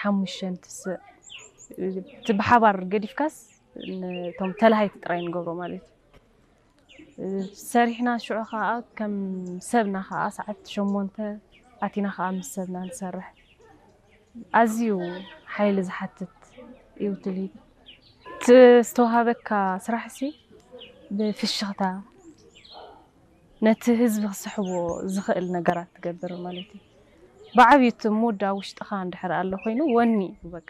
ሓሙሽተ ንትስእ። እቲ ብሓባር ገዲፍካስ ነቶም ተላሃይቲ ጥራይ ንገብሮ ማለት እዩ። ሰሪሕና ሽዑ ከዓ ከም ሰብና ከዓ ሰዓት ሸሞንተ ኣቲና ከዓ ምስ ሰብና ንሰርሕ። ኣዝዩ ሓይሊ ዝሓትት እዩ ትልሂት። እቲ ዝተዋሃበካ ስራሕሲ ብፍሽኽታ ነቲ ህዝቢ ክስሕቦ ዝኽእል ነገራት ትገብር ማለት እዩ። ብዓብዩ እቲ ሙድ ኣብ ውሽጥኻ እንድሕር ኣሎ ኮይኑ ወኒ እዩ በቃ።